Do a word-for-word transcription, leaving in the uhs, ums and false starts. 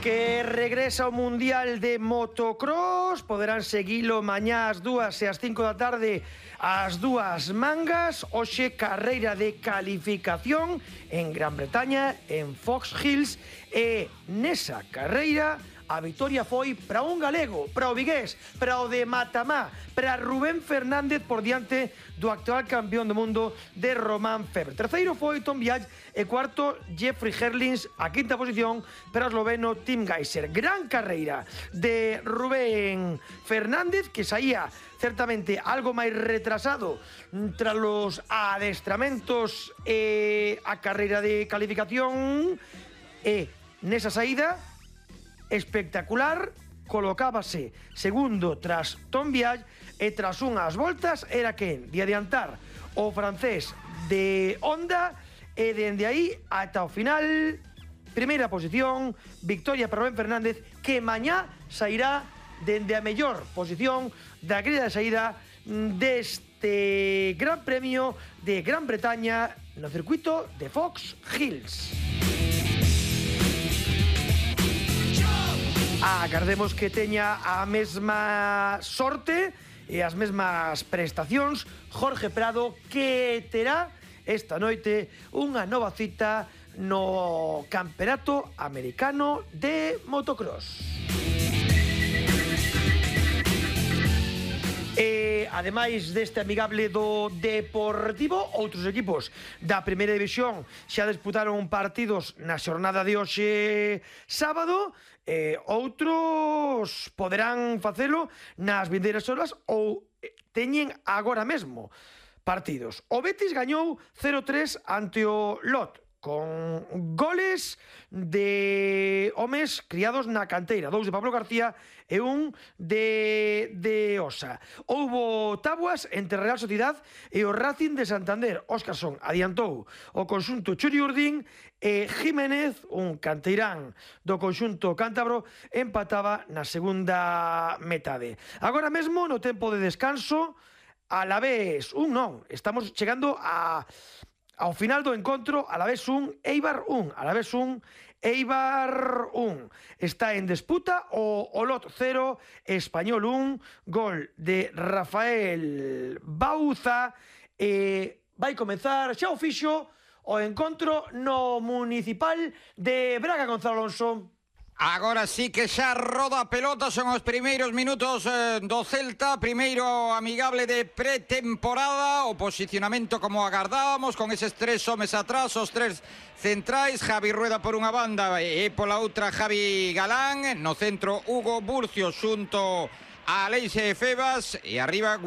Que regresa ao Mundial de Motocross. Poderán seguilo mañá ás dúas e ás cinco da tarde as dúas mangas. Hoxe carreira de calificación en Gran Bretaña, en Fox Hills. E nesa carreira a vitoria foi para un galego, para o vigués, para o de Matamá, para Rubén Fernández por diante do actual campeón do mundo de Román Febvre. Terceiro foi Tom Vialle e cuarto Jeffrey Herlings, a quinta posición para o esloveno Tim Gajser. Gran carreira de Rubén Fernández, que saía certamente algo máis retrasado tras los adestramentos e a carreira de calificación, e nesa saída espectacular, colocábase segundo tras Tom Vialle e tras unhas voltas era quen de adiantar o francés de Honda e dende aí ata o final primeira posición, victoria para Rubén Fernández, que mañá sairá dende a mellor posición da grilla de saída deste Gran Premio de Gran Bretaña no circuito de Fox Hills. Agardemos que teña a mesma sorte e as mesmas prestacións Jorge Prado, que terá esta noite unha nova cita no Campeonato Americano de Motocross. E, ademais deste amigable do Deportivo, outros equipos da Primeira División xa disputaron partidos na xornada de hoxe sábado, e outros poderán facelo nas vindeiras horas ou teñen agora mesmo partidos. O Betis gañou cero tres ante o Lot, con goles de homes criados na canteira, dous de Pablo García e un de, de Osa. Houbo tabuas entre Real Sociedad e o Racing de Santander. Óscarson adiantou o conxunto Churiurdín e Jiménez, un canteirán do conxunto cántabro, empataba na segunda metade. Agora mesmo, no tempo de descanso, Alavés un non, estamos chegando a... ao final do encontro, Alavés un, Eibar un, Alavés un, Eibar un. Está en disputa o Olot cero, Español un, gol de Rafael Bauza. E vai comezar xa o fixo o encontro no Municipal de Braga, Gonzalo Alonso. Agora sí que xa roda a pelota, son os primeiros minutos eh, do Celta, primeiro amigable de pretemporada, o posicionamento como agardábamos, con eses tres homes atrás, os tres centrais, Javi Rueda por unha banda e pola outra Javi Galán, no centro Hugo Burcio xunto a Aleix Febas e arriba